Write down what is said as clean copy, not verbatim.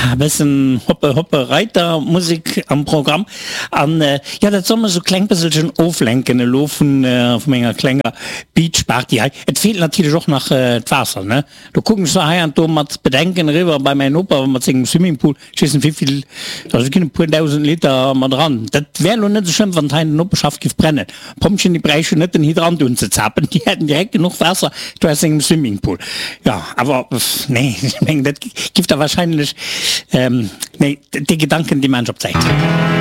E bëssen Hoppe Hoppe Reiter Musek am Programm an jo dat soll mech sou kleng bësselchen oflenken elo vun vu menger klenger Beach Party hei. Et feelt natierlech och nach d'Waasser ne. Do kucken ech zwar hei an do mat Bedenken eriwwer bei mäin Noper mat sengem Swimmingpool, ech weess net wéivill, also et ginn e puer 1.000 Liter mat eran. Dat wär elo net esou schlëmm wann hei an der Noperschaft giff brennen. D'Pompjeeën déi bräichen net den Hydrant unzezapen, déi hätten direkt genuch Waasser do aus sengem Swimmingpool. Jo, awer nee, ech mengen dat giff da wahrscheinlech, nee, dee Gedanken dee maan ech op d'Säit.